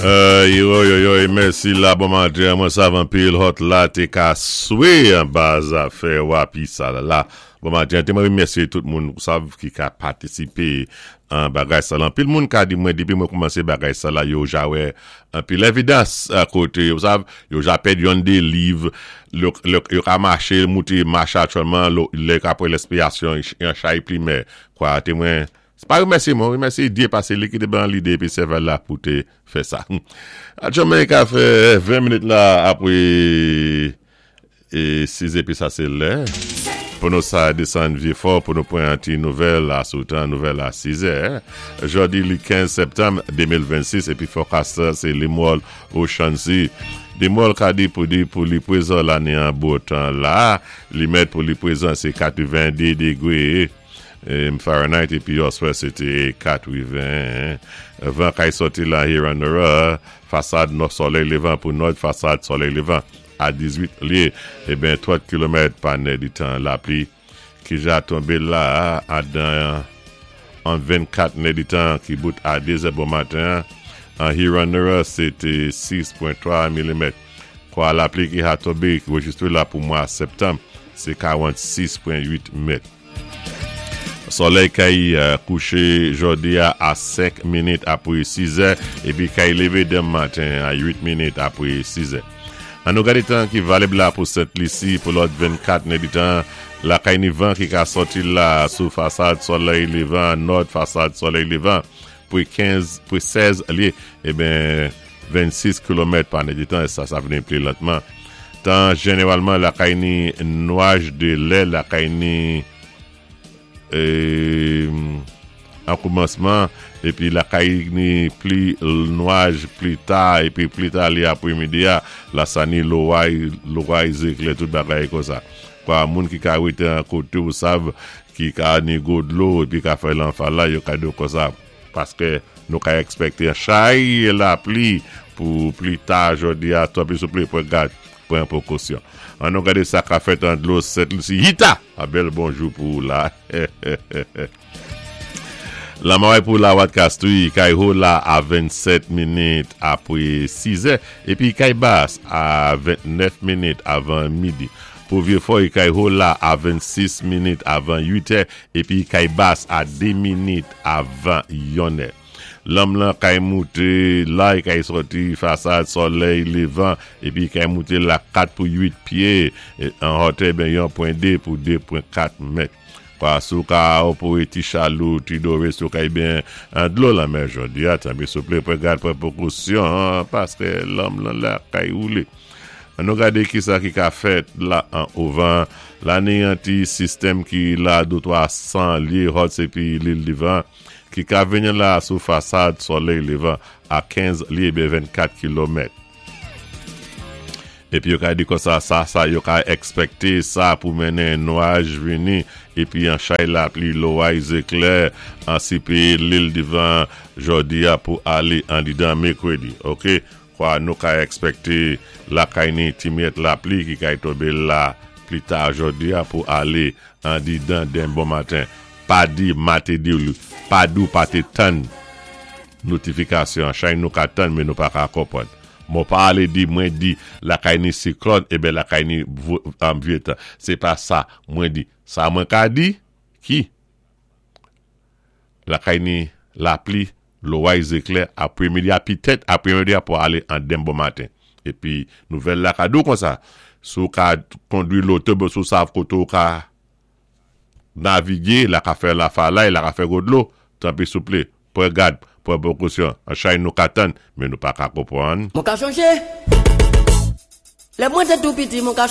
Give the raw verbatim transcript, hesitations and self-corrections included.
Yoy, yoy, yoy, mèsi la, bon maten, mwen sav anpil hot la té ka swé anba zafè wapi sa la la. Bon maten, té mwen remèsyé tout moun sav ki ka patisipé an bagay sa la. Anpil moun ka di mwen dépi mwen koumansé bagay sa la, yo ja wè anpil évidans a koté, yo sav, yo ja pèd yon dé liv, yo, yo ka maché, mouté maché aktyèlman, lè ka pran lenspirasyon, yon chay plimè, kwa, té mwen, sé pa remèsyé mwen, remèsyé Dyé pasé li ki té ban lidé épi sèvèl la pou té fè sa. Aktyèlman, ka fè ven minit la apwé é sis épi sa sé lè. Pou nou sa désann Vyé-Fò pou nou pran ti nouvèl la sou tan nouvèl a sis è. Jòdi li kenz septanm de mil vennsis épi forecast sé Limwòl Ocean Sea. Limwòl ka di pou di pou li pwézan la ni an bo tan la, li mèt pou li pwézan sé katwenn-dé dégwé Fahrenheit épi oswè sé té katwenn. Van kay sòti la Hewanorra, fasad nò solèy lévan pou nò fasad solèy lévan a dizuit lyé, é ben trant kilomèt pa nè di tan. Lapli ki ja tonbé la a dan an vennkat nè di tan ki bout a dé zè bon maten an Hewanorra sé té sis pwen twa milimèt. Kwa lapli ki a tonbé ki rejistwé la pou mwa septanm, sé karannsis pwen uit mèt. Solèy kay kouché jòdi a a senk minit apwé sis è épi kay lévé denmen maten a uit minit apwé sis è. An nou gadé tan ki valib la pou Sent Lisi pou lòt vennkat nè di tan. Lakay ni van ki ka sòti la sou fasad solèy lévan, nò fasad solèy lévan pou kenz, pou sèz lyé, é ben vennsis kilomèt pa nè di tan, sa sa vini pli lantman. Tan jénéwalman lakay ni nwaj dé lè, lakay ni an koumansman, épi lakay ni pli nwaj pli ta, épi pli ta li apwémidi a, la sa ni loway, loway zéklè, tout bagay kon sa. Kwa moun ki ka wété an koté ou sav, ki ka ni gwo dlo, épi ka fè lanfa la, yo ka di kon sa, paské nou ka èkspèkté chay lapli pou pli ta jòdi a, tanpri souplé, pran gad, pran pwékosyon. An nou gadé sa ka fèt an dlo Sent Lisi. Hita! A bèl bonjou pou la. La maway pou la wat kastri, kay ho la a vennsèt minit apwé sis è, épi kay bas a ventnèf minit avan midi. Pou Vyé-Fò, kay ho la a vennsis minit avan uit è, épi kay bas a dé minit avan yon è. Lanm lan kay mouté, la kay sòti fasad solèy lévan, épi kay mouté la kat pou uit pyé, an wotè ben yon pwen dé pou de pwen kat mèt. Kwa sou ka ou pou ti chalou, ti doré sou kay ben an dlo lanmè jòdi a, tanpri souplé pran gad pran pwékosyon, paské lanm lan la kay woulé. An nou gadé ki sa ki ka fèt la an ouvan, la ni an ti sistèm ki la dé twa san lyé hot épi Lil Divan, ki ka vini la sou fasad solèy lévan a kenz lyé ben vennkat kilomèt. Épi yo ka di kon sa, sa, sa, yo ka èkspèkté sa pou mennen nwaj vini, épi an chay lapli, loway zéklè, an sipi Lil Divan jòdi a pou alé an didan mèkwédi. Ok, kwa nou ka èkspèkté lakay ni ti myèt lapli ki kay tonbé la pli ta jòdi a pou alé an didan denmen bon maten. Pa di ma té di ou, pa di ou pa té tann notifikasyon, chay nou ka tann men nou pa ka konpwann. Mwen pa alé di mwen di lakay ni siklòn, é ben lakay ni vyé tan. Sé pa sa mwen di. Sa mwen ka di, ki? Lakay ni lapli, loway zéklè, apwémidi a pitèt, apwémidi a pou alé an denmen bon maten. Épi, nouvèl la ka di ou kon sa. Sou ka kondwi loto, sou sav koto ka navigé, la ka fè la falay, la ka fè gwo dlo, tanpri souplé, pran gad, pran pwékosyon. An chay nou ka tann, men nou pa ka konpwann. Mwen ka chonjé. Lè mwen té tou piti, mwen ka